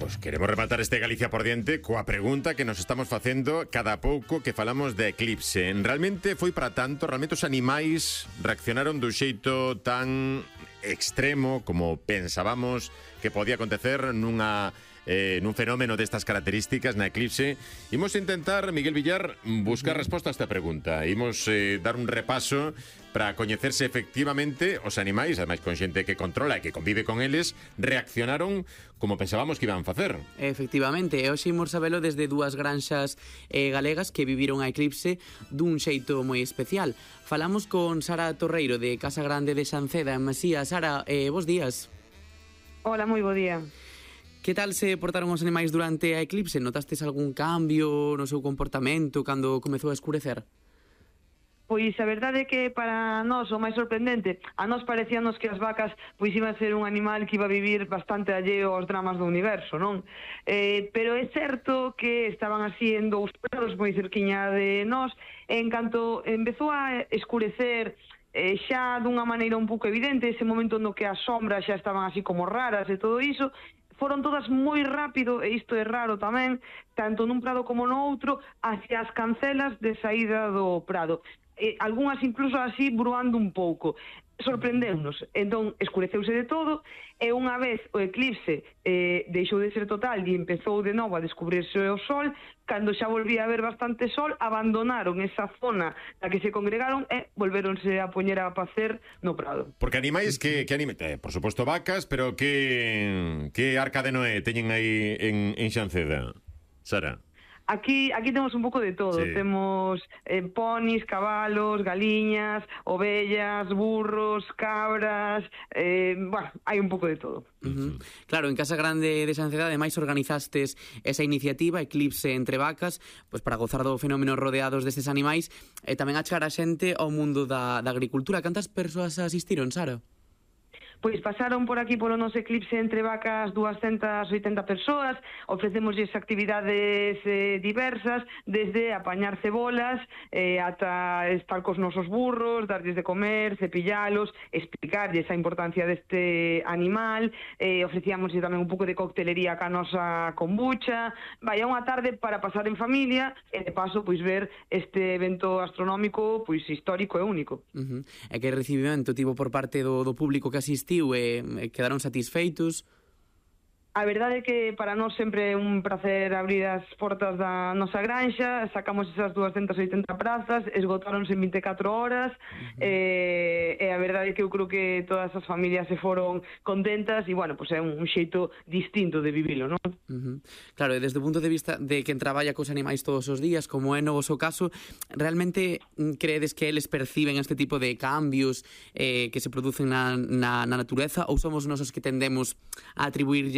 Pois queremos rematar este Galicia por diante coa pregunta que nos estamos facendo cada pouco que falamos de eclipse. Realmente foi para tanto? Realmente os animais reaccionaron dun xeito tan extremo como pensábamos que podía acontecer nun fenómeno destas características na eclipse? Imos intentar, Miguel Villar, buscar resposta a esta pregunta. Imos dar un repaso para coñecerse efectivamente os animais, ademais con xente que controla e que convive con eles, reaccionaron como pensábamos que iban facer. Efectivamente, e hoxe imos sabelo desde dúas granxas galegas que viviron a eclipse dun xeito moi especial. Falamos con Sara Torreiro de Casa Grande de Xanceda en Masía. Sara, bos días. Hola, moi bo día. Que tal se portaron os animais durante a eclipse? Notastes algún cambio no seu comportamento cando comezou a escurecer? Pois a verdade é que para nós o máis sorprendente, a nós parecíanos que as vacas pois iban a ser un animal que iba a vivir bastante alleo aos dramas do universo, non? Pero é certo que estaban así en dous prados moi cerquiña de nós, e en canto empezou a escurecer xa dunha maneira un pouco evidente, ese momento no que as sombras xa estaban así como raras e todo iso, foron todas moi rápido, e isto é raro tamén, tanto nun prado como no outro, hacia as cancelas de saída do prado. Algúnas incluso así bruando un pouco. Sorprendeunos. Entón, escureceuse de todo, e unha vez o eclipse deixou de ser total e empezou de novo a descubrirse o sol, cando xa volvía a haber bastante sol, abandonaron esa zona na que se congregaron e volveronse a poñer a pacer no prado. Porque animais que por suposto vacas, pero que arca de Noé teñen aí en Xanceda, Sara? Aquí temos un pouco de todo, sí. Temos ponis, cabalos, galiñas, ovellas, burros, cabras, hai un pouco de todo. Claro, en Casa Grande de Xanceda ademais organizastes esa iniciativa Eclipse entre vacas, pois para gozar do fenómeno rodeados destes animais e tamén achegar a xente ao mundo da agricultura. Cantas persoas asistiron, Sara? Pois pasaron por aquí polo noso eclipse entre vacas 280 persoas, ofrecémosles actividades diversas, desde apañar cebolas ata estar cos nosos burros, darlles de comer, cepillalos, explicarlles a importancia deste animal, ofrecíamoslle tamén un pouco de coctelería ca nosa kombucha. Vai, unha tarde para pasar en familia e de paso pois ver este evento astronómico pois histórico e único. E que recibimento tivo por parte do público que asistiu e quedaron satisfeitos? A verdade é que para nós sempre é un placer abrir as portas da nosa granxa, sacamos esas 280 prazas, esgotáronse en 24 horas, e a verdade é que eu creo que todas as familias se foron contentas e, bueno, pues é un xeito distinto de vivilo, non? Claro, e desde o punto de vista de quen traballa cos animais todos os días, como é no vosso caso, realmente credes que eles perciben este tipo de cambios que se producen na natureza, ou somos nosos que tendemos a atribuirlles